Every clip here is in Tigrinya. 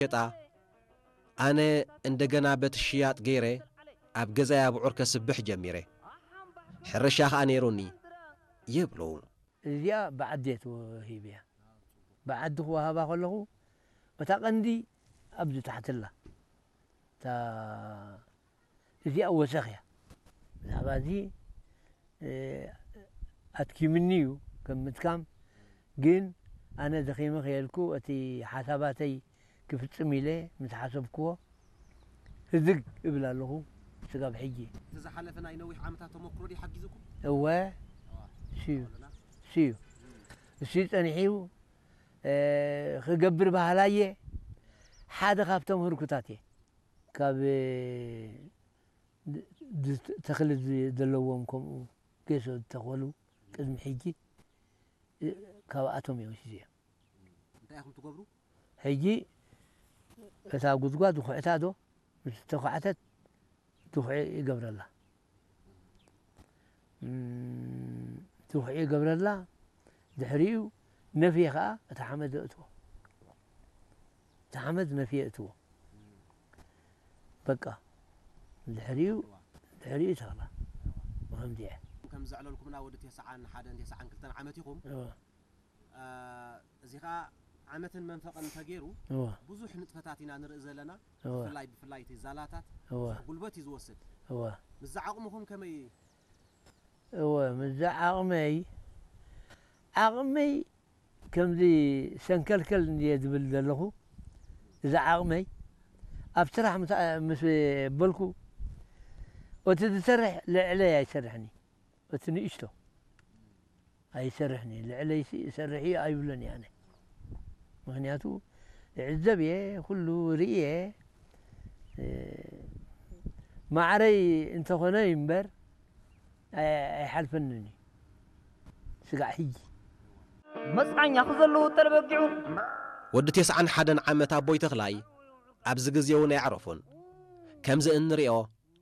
ሸጣ፣ ኣነ እንደገና በቲ ሽያጥ ገይረ ኣብ ገዛይ ኣብዑር ከስብሕ ጀሚረ። ሕርሻ ኸኣ ነይሩኒ ይብሉ። እዚኣ ብዓዲ እየ ተዋሂበያ። ብዓዲ ክወሃባ ከለኹ፣ እታ ቀንዲ ኣብዚ ታሕቲ ኣላ። እታ፣ እዚኣ ወሰኽ እያ። ብዛዕባ እዚ፣ እ፣ ኣድኪምኒ እዩ ከም ምድካም፣ ግን ኣነ ደኺመ ከየልኩ እቲ ሓሳባተይ ክፍጽም ኢለ ምስ ሓሰብክዎ፣ ህድግ እብል ኣለኹ ስጋብ ሕጂ። እቲ ዝሓለፈ ናይ ነዊሕ ዓመታት ተመክሮ ድዩ ሓጊዙኩም? እወ፣ እዋ፣ ስዩ፣ ኣለና። ስዩ። እሱ ጸኒሑ፣ እ፣ ክገብር ባህላየ ሓደ ካብቶም ህርኩታት እየ። ካብ፣ እ፣ ድ-፣ ድ-፣ ተኽሊ ዝ-፣ ዘለዎም ከምኡ ጌሶ ዝተኸሉ ቅድሚ ሕጂ፣ እ፣ ካብኣቶም እዮም ወሲዘዮም። እንታይ ኢኹም ትገብሩ? ሕጂ እታ ጉድጓድ ዝኹዕታ ዶ፣ ምስ ተኳዕተት ድኹዒ ይገብረላ። እም፣ ድኹዒ ይገብረላ። ድሕሪኡ ነፍየ ኸኣ እታ ሓመድ የእትዎ። እታ ሓመድ ነፍየ የእትዎ። በቃ። ድሕሪኡ፣ ድሕሪኡ ተኽላ። ብኸምዚ እየ። ከም ዘዕለልኩምና ወዲ ተስዓን ሓደን ተስዓን ክልተን ዓመት ኢኹም። እወ። እ፣ እዚ ኸኣ ዓመትን መንፈቕን ተገይሩ እወ። ብዙሕ ንጥፈታት ኢና ንርኢ ዘለና። እወ። ብፍላይ፣ ብፍላይ እቲ ዛላታት እወ። ብዙሕ ጉልበት እዩ ዝወስድ። እወ። ምስዚ ዓቕምኹም ከመይ? እወ፣ ምስዚ ዓቕመይ፣ ዓቕመይ ከምዚ ሰንከልከል እንድየ ዝብል ዘለኹ፣ እዚ ዓቕመይ ኣብ ስራሕ ምስ፣ ምስ በልኩ፣ እቲ ዝሰርሕ ልዕለይ ኣይሰርሕን እዩ። እቲ ንእሽቶ ኣይሰርሕን እዩ። ልዕለይሲ እሰርሕ እዩ ኣይብሎን እየ ኣነ። ምኽንያቱ፣ እዕዘብ እየ፣ ኩሉ ርኢ እየ። እ፣ ማዕረይ እንተኾነ እምበር፣ ኣይ-፣ ኣይሓልፈንን እዩ። ስጋዕ ሕጂ። መጽዓኛ ክዘለዉ ጠለበጊዑ። ወዲ ተስዓን ሓደን ዓመት ኣቦይ ተኽላይ ኣብዚ ግዜ እውን ኣየዕረፉን። ከምዚ እንሪኦ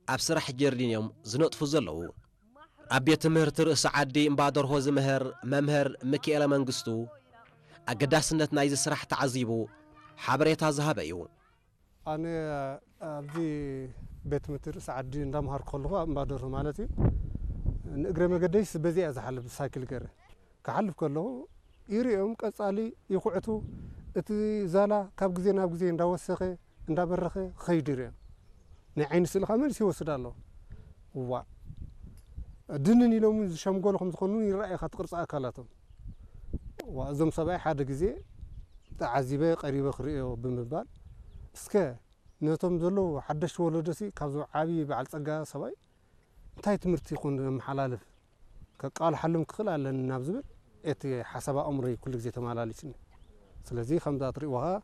ኣብ ስራሕ ጀርዲን እዮም ዝነጥፉ ዘለዉ። ኣብ ቤት ትምህርቲ ርእሲ ዓዲ እምባደርሆ ዝምህር መምህር ሚኪኤለ መንግስቱ ኣገዳስነት ናይዚ ስራሕ ተዓዚቡ ሓበሬታ ዝሃበ እዩ። ኣነ ኣብዚ ቤት ትምህርቲ ርእሲ ዓዲ እንዳምሃርኩ ከለኹ፣ ኣብ እምባደርሆ ማለት እዩ፣ ንእግረ መገደይስ በዚኣ እየ ዝሓልፍ፣ ብሳይክል ገይረ። ክሓልፍ ከለኹ ይርእዮም፣ ቀጻሊ ይኹዕቱ። እቲ ዛላ ካብ ግዜ ናብ ግዜ እንዳወሰኸ፣ እንዳበረኸ ክኸይድ ይርእዮም። ናይ ዓይኒ ስእሊ ከኣ መሊሱ ይወስድ ኣሎ። እዋእ፣ ድንን ኢሎም እውን ዝሸምገሉ ከም ዝኾኑ እውን ይረኣየካ፣ እቲ ቅርጺ ኣካላቶም። እዋእ፣ እዞም ሰብኣይ ሓደ ግዜ ተዓዚበ፣ ቀሪበ ክርእዮ ብምባል፣ እስከ ነቶም ዘለዉ ሓደሽቲ ወለዶሲ ካብዞም ዓቢ በዓል ጸጋ ሰብኣይ እንታይ ትምህርቲ ይኾን ዘመሓላልፍ? ከቃልሓሎም ክኽእል ኣለኒ ናብ ዝብል እቲ ሓሳብ ኣእምሮይ ኩሉ ግዜ ተመላሊስኒ። ስለዚ ከምዛ ትርእይዎ ኸኣ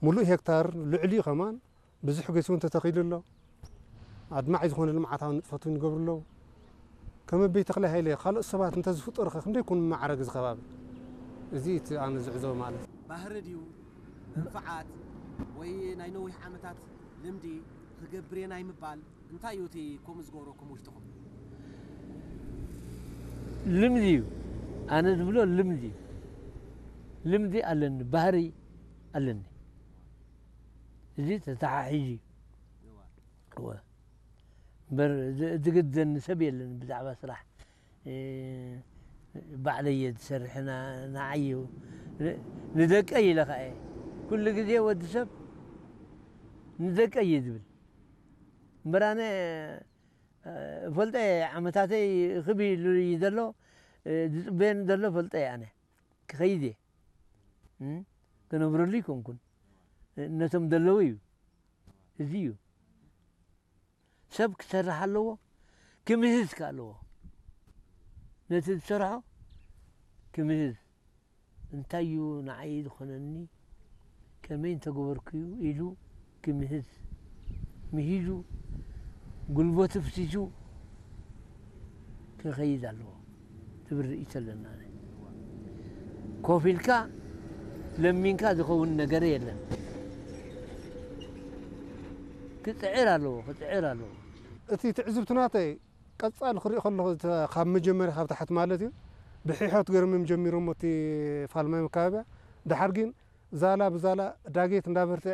ምሉእ ሄክታር ልዕሊኡ ከማን ብዙሕ ገስ እውን ተተኺሉ ኣሎ። ኣድማዒ ዝኾነ ልምዓታዊ ንጥፈት እውን ይገብሩ ኣለዉ። ከም ኣቦይ ተኽለ ሃይለ ካልኦት ሰባት እንተዝፍጠሩ ኸ ክንደይ ይኮን መማዕረግ እዚ ከባቢ? እዚ እቲ ኣነ ዝዕዘቦ ማለት። ባህሪ ድዩ መንፍዓት ወይ ናይ ነዊሕ ዓመታት ልምዲ ክገብር እየ ናይ ምባል እንታይ እዩ እቲ ከምኡ ዝገብረኩም ውሽጥኹም? ልምዲ እዩ። ኣነ ዝብሎ ልምዲ እዩ። ልምዲ ኣለኒ፣ ባህሪ ኣለኒ። እዚ ተተሓሒዙ እዩ። እዋ። እወ። እምበር ዝ-፣ ዝግደኒ ሰብ የለን ብዛዕባ ስራሕ። እ፣ ባዕለይ እየ ዝሰርሕ፣ ና-፣ ንዓይ እዩ። ን-፣ ንደቀይ ኢለ ኸኣ እየ። ኩሉ ግዜ ወዲ ሰብ ንደቀይ እዩ ዝብል። እምበር ኣነ፣ እ፣ እፈልጦ እየ፣ ዓመታተይ ክብ ኢሉ እዩ ዘሎ፣ እ፣ ዝጽበየኒ ዘሎ እፈልጦ እየ ኣነ። ክኸይድ እየ። እም፣ ክነብረሉ ኣይኮንኩን። እ፣ ነቶም ዘለዉ እዩ። እዚ እዩ። ሰብ ክሰርሕ ኣለዎ፣ ክምህዝ ከኣ ኣለዎ። ነቲ ዝሰርሖ ክምህዝ። እንታይ እዩ ንዓይ ዝኾነኒ፣ ከመይ እንተገበርኩ እዩ ኢሉ ክምህዝ፣ ምሂዙ፣ ጉልበቱ ፍሲሱ ክኸይድ ኣለዎ ትብል ርእይቶ ኣለና። ኮፍ ኢልካ ለሚንካ ዝኸውን ነገር የለን። ክጽዕር ኣለዎ፣ ክጽዕር ኣለዎ። እቲ ትዕዝብቲ ናተይ ቀጻሊ ክሪኦ ከለኹ፣ እተ-፣ ካብ መጀመርያ ካብ ታሕቲ ማለት እዩ፣ ብሕሖት ገይሮም እዮም ጀሚሮሞ እቲ ፋልማይ መካበብያ። ደሓር ግን ዛላ ብዛላ ዳጌት እንዳበርትዐ